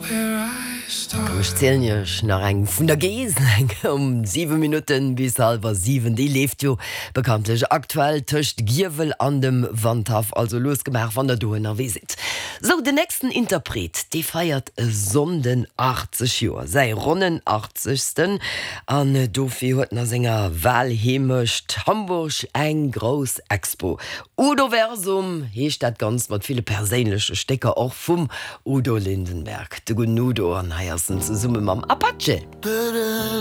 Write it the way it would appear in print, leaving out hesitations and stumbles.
Komm ech zielen iech nach eng vun der Gees, eng um 7 Minutten bis halwer 7. Déi leeft jo bekanntlech aktuell tëscht Giewel an dem Wandhaff. Also lues gemaach wann der do ënnerwee sidd. Sou, den nächsten Interpret, dee feiert e Sonnden 80 Joer, säi ronnen achtzegsten. An dofir huet en a senger Walheemecht Hamburg eng grouss Expo. Udoversum heescht dat Ganzt mat ville perséinleche Stécker och vum Udo Lindenberg, de gudden Udo, an hei ass en zesumme mam Apache.